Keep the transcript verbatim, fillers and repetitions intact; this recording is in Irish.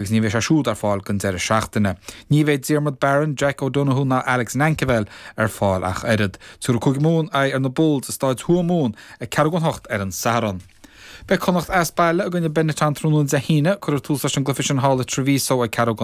agus ní bheidh sé siúd ar fáil don deireadh seachtaine. Ní bheidh Diarmuid Barron, Jack O'Donoghue ná Alex Nankivell ar fáil ach oiread. Tabharfaidh Cúige Mumhan aghaidh ar na Bulls i Staid Thuamumhan ag ceathrú don hocht ar an Satharn. Beidh Connacht as baile i gcoinne Benetton tráthnóna Dé hAoine, cuirfear tús leis an gcluiche sin thall i Treviso ag ceathrú